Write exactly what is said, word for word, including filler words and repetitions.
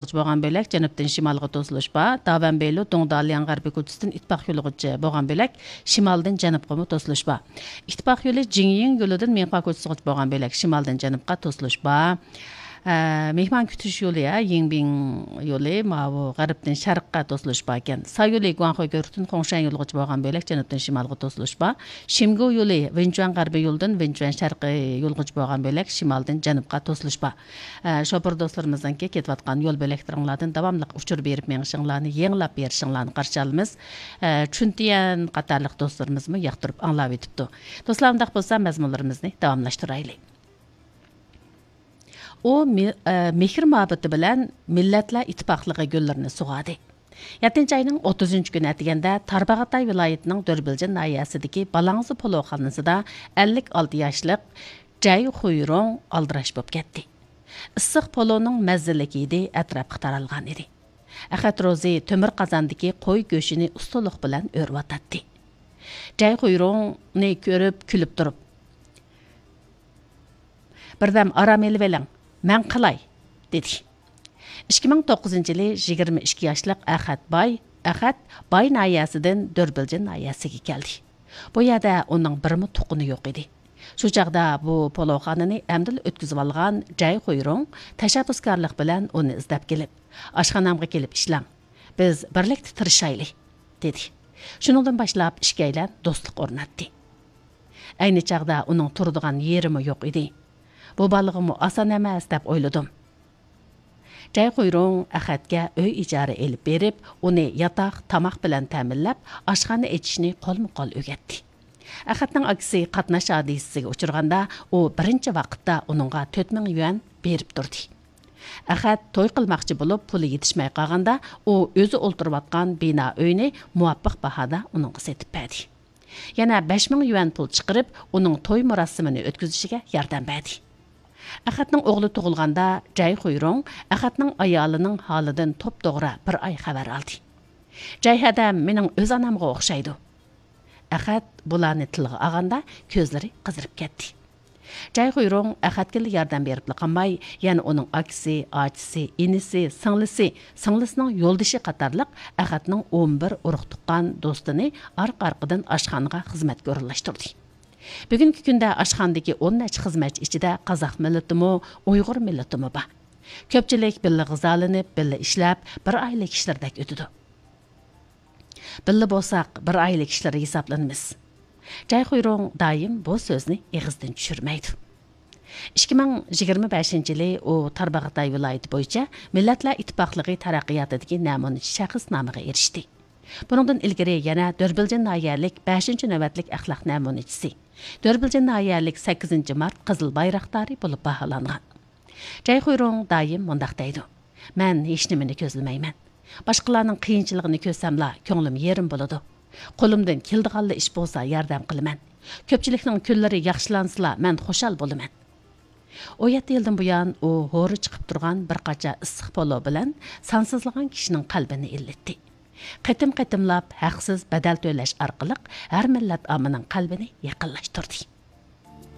بولغان بۆلەك جەنۇبتىن شىمالغا توسۇلۇش بار. داۋەنبېيلۇ دۇڭدالياڭ غەربىي كوچىسىدىن ئىتتىپاق يولىغىچە بولغان بۆلەك شىمالدىن جەنۇبقىمۇ توسۇلۇش بار. ئىتتىپاق يولى جىڭيىڭ يولىدىن مىڭخۇا كوچىسىغىچە بولغان بۆلەك شىمالدىن جەنۇبقا توسۇلۇش بار. ئە، مېھمان كۈتۈش يولى، ھە، يىڭبىڭ يولى ماۋۇ غەربتىن شەرققە توسۇلۇش باركەن. سا يولى گۇاڭخۇي گۆرۈكتىن خۇڭشەن يولىغىچە بولغان بۆلەك جەنۇبتىن شىمالغا توسۇلۇش بار. شىمگۇ يولى ۋېنچۈەن غەربىي يولىدىن ۋېنچۈەن شەرقىي يولغىچە بولغان بۆلەك شىمالدىن جەنۇبقا توسۇلۇش بار. ئە، شوپۇر دوستلىرىمىزنىڭكى كېتىۋاتقان يول بۆلەكلىرىڭلاردىن داۋاملىق ئۇچۇر بېرىپ مېڭىشىڭلارنى، يېڭىلاپ بېرىشىڭلارنى قارشى ئالىمىز. ئە، چۈنتيەن قاتارلىق دوستلىرىمىزمۇ ياقتۇرۇپ ئاڭلاۋېتىپتۇ. دوستلار، ئۇنداق بولسا مەزمۇنلىرىمىزنى داۋاملاشتۇرايلى. ئۇ مې-، ئە، مېھىر-مۇھەببىتى بىلەن مىللەتلەر ئىتتىپاقلىقى گۈللىرىنى سۇغاردى. يەتتىنچى ئاينىڭ ئوتتۇزىنچى كۈنى ئەتىگەندە تارباغاتاي ۋىلايىتىنىڭ دۆربىلجىن ناھىيەسىدىكى بالاڭزا پولۇخانىسىدا ئەللىك ئالتە ياشلىق جەي خۇيرۇڭ ئالدىراش بولۇپ كەتتى. ئىسسىق پولۇنىڭ مەززىلىك ھىدى ئەتراپقا تارالغان ئىدى. ئەخەت روزى تۆمۈر قازاندىكى قوي گۆشىنى ئۇستىلىق بىلەن ئۆرۈۋاتاتتى. جەي خۇيرۇڭنى كۆرۈپ كۈلۈپ تۇرۇپ، «بىردەم ئارام ئېلىۋېلىڭ، مەن قىلاي» دېدى. ئىككى مىڭ توققۇزىنچى يىلى يىگىرمە ئىككى ياشلىق ئەخەت باي، ئەخەت باي ناھىيەسىدىن دۆربىلجىن ناھىيەسىگە كەلدى. بۇ يەردە ئۇنىڭ بىرمۇ تۇغقىنى يوق ئىدى. شۇ چاغدا بۇ پولۇخانىنى ئەمدىلا ئۆتكۈزۈۋالغان جەي خۇيرۇڭ تەشەببۇسكارلىق بىلەن ئۇنى ئىزدەپ كېلىپ، «ئاشخانامغا كېلىپ ئىشلەڭ، بىز بىرلىكتە تىرىشايلى» دېدى. شۇنىڭدىن باشلاپ ئىككىيلەن دوستلۇق ئورناتتى. ئەينى چاغدا ئۇنىڭ تۇرىدىغان يېرىمۇ يوق ئىدى. بۇ بالىغىمۇ ئاسان ئەمەس دەپ ئويلىدىم. جەي خۇيرۇڭ ئەخەتكە ئۆي ئىجارە ئېلىپ بېرىپ، ئۇنى ياتاق، تاماق بىلەن تەمىنلەپ، ئاشخانا ئېچىشنى قولمۇ قول ئۆگەتتى. ئەخەتنىڭ ئاكىسى قاتناش ھادىسىسىگە ئۇچرىغاندا، ئۇ بىرىنچى ۋاقىتتا ئۇنىڭغا تۆت مىڭ يۈەن بېرىپ تۇردى. ئەخەت توي قىلماقچى بولۇپ، پۇلى يېتىشمەي قالغاندا، ئۇ ئۆزى ئولتۇرۇۋاتقان بىنا ئۆينى مۇۋاپىق باھادا ئۇنىڭغا سېتىپ بەردى. يەنە بەش مىڭ يۈەن پۇل چىقىرىپ، ئۇنىڭ توي مۇراسىمىنى ئۆتكۈزۈشىگە ياردەم بەردى. ئەخەتنىڭ ئوغلى تۇغۇلغاندا، جەي خۇيرۇڭ ئەخەتنىڭ ئايالىنىڭ ھالىدىن توپتوغرا بىر ئاي خەۋەر ئالدى. «جەي ھەدەم مېنىڭ ئۆز ئانامغا ئوخشايدۇ.» ئەخەت بۇلارنى تىلغا ئالغاندا، كۆزلىرى قىزىرىپ كەتتى. جەي خۇيرۇڭ ئەخەتكىلا ياردەم بېرىپلا قالماي، يەنە ئۇنىڭ ئاكىسى، ئاچىسى، ئىنىسى، سىڭلىسى، سىڭلىسىنىڭ يولدىشى قاتارلىق ئەخەتنىڭ ئون بىر ئۇرۇق-تۇغقان دوستىنى ئارقا-ئارقىدىن ئاشخانىغا خىزمەتكە ئورۇنلاشتۇردى. بۈگۈنكى كۈندە ئاشخانىدىكى ئون نەچچە خىزمەتچى ئىچىدە قازاق مىللىتىمۇ، ئۇيغۇر مىللىتىمۇ بار. كۆپچىلىك بىللە غىزالىنىپ، بىللە ئىشلەپ، بىر ئائىلە كىشىلىرىدەك ئۆتىدۇ. بىللە بولساق، بىر ئائىلە كىشىلىرى ھېسابلىنىمىز. جەي خۇيرۇڭ دائىم بۇ سۆزنى ئېغىزدىن چۈشۈرمەيدۇ. ئىككى مىڭ يىگىرمە بەشىنچى يىلى ئۇ تارباغاتاي ۋىلايىتى بويىچە مىللەتلەر ئىتتىپاقلىقى تەرەققىياتىدىكى نەمۇنىچى شەخس نامىغا ئېرىشتى. بۇنىڭدىن ئىلگىرى يەنە دۆربىلجىن ناھىيەلىك بەشىنچى نۆۋەتلىك ئەخلاق نەمۇنىچىسى، دۆربىلجىن ناھىيەلىك سەككىزىنچى مارت قىزىل بايراقدارى بولۇپ باھالانغان. جەي خۇيرۇڭ دائىم مۇنداق دەيدۇ: «مەن ھېچنېمىنى كۆزلىمەيمەن. باشقىلارنىڭ قىيىنچىلىقىنى كۆرسەملا، كۆڭلۈم يېرىم بولىدۇ. قولۇمدىن كېلىدىغانلا ئىش بولسا ياردەم قىلىمەن. كۆپچىلىكنىڭ كۈنلىرى ياخشىلانسىلا، مەن خۇشال بولىمەن.» ئون يەتتە يىلدىن بۇيان ئۇ ھورا چىقىپ تۇرغان بىر قاچا ئىسسىق پولۇ بىلەن سانسىزلىغان كىشىنىڭ قەلبىنى ئىللىتتى. قېتىم-قېتىملاپ ھەقسىز بەدەل تۆلەش ئارقىلىق ھەر مىللەت ئاممىنىڭ قەلبىنى يېقىنلاشتۇردى.